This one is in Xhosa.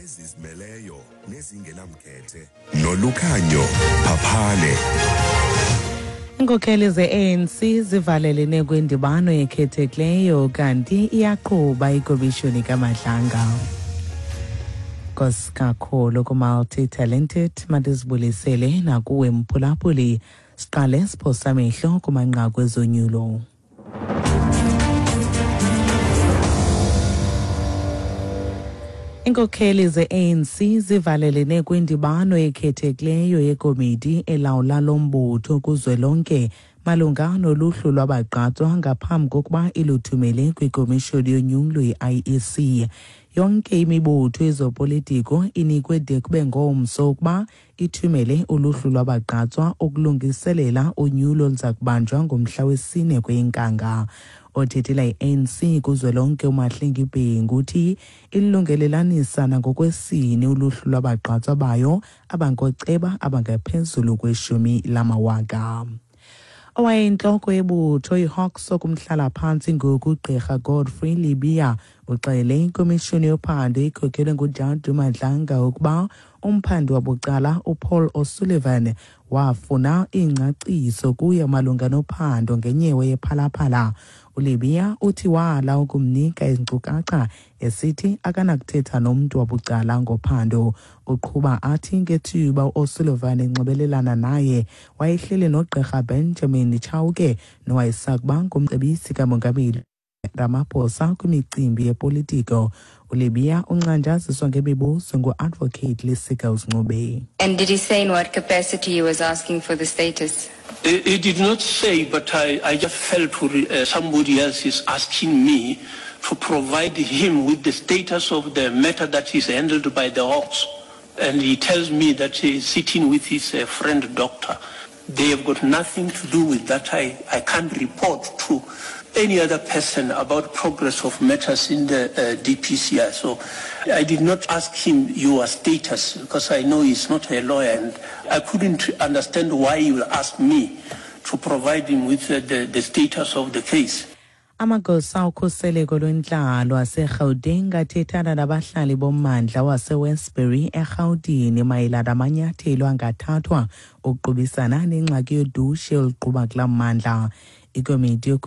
Ezizimeleyo nezingenamkhethe noLukhanyo Phaphane. Iinkokheli ze-ANC zivalelene kwindibano ekhethekileyo kanti iyaqhuba ikomishoni kaMadlanga. Nkosi kakhulu ku-multi-talented, mandizibulisele nakuwe mphulaphuli. Siqale siphosa amehlo kumanqaku ezonyulo. Iinkokheli ze-ANC zivalelene kwindibano ekhethekileyo yekomiti elawula lo mbutho kuzwelonke malunga noluhlu lwabagqatswa ngaphambi kokuba iluthumele kwikomishoni yonyulo i-IEC. Yonke imibutho yezopolitiko inikwe de kube ngomso ukuba ithumele uluhlu lwabagqatswa ukulungiselela unyulo oluza kubanjwa ngomhla wesine kweyeNkanga. Othethela i-ANC kuzwelonke uMahlengi Bhengu uthi ilungelelanisa nangokwesini uluhlu lwabagqatswa bayo abangooceba abangaphezulu kweshumi lamawaka. Owayeyintloko yebutho iHawks okumhlala-phantsi ngoku uGqirha Godfrey Libia uxele ikomishoni yophando ikhokelwe nguJadu Madlanga ukuba umphandi wabucala uPaul O'Sullivan wafuna iingcaciso kuye malunga nophando ngenyewe yephalaphala. ULibia uthi wala ukumnika izinkcukacha esithi akanakuthetha nomntu wabucala ngophando. Uqhuba athi ngethuba uO'Sullivan enxibelelana naye wayehleli noGqirha Benjamin Chauke nowayesakuba ngumcebisi kamongameli Ramaphosa kwimicimbi yepolitiko. ULibia uncanjaziswa ngemibuzo ngu-Advocate Lisiggles Ncube. And did he say in what capacity he was asking for the status? He did not say, but I just felt somebody else is asking me to provide him with the status of the matter that is handled by the Hawks. And he tells me that he is sitting with his friend doctor. They have got nothing to do with that. I can't report to any other person about progress of matters in the DPCI. So I did not ask him your status because I know he's not a lawyer and I couldn't understand why he will ask me to provide him with the status of the case. Amagosa okhuseleko lwentlalo aseGauteng athethana nabahlali bommandla waseWestbury eRhawutini mayelana namanyathelo angathathwa ukuqubisana nengxaki yodushe oluquba kulaa mmandla. Ikomiti.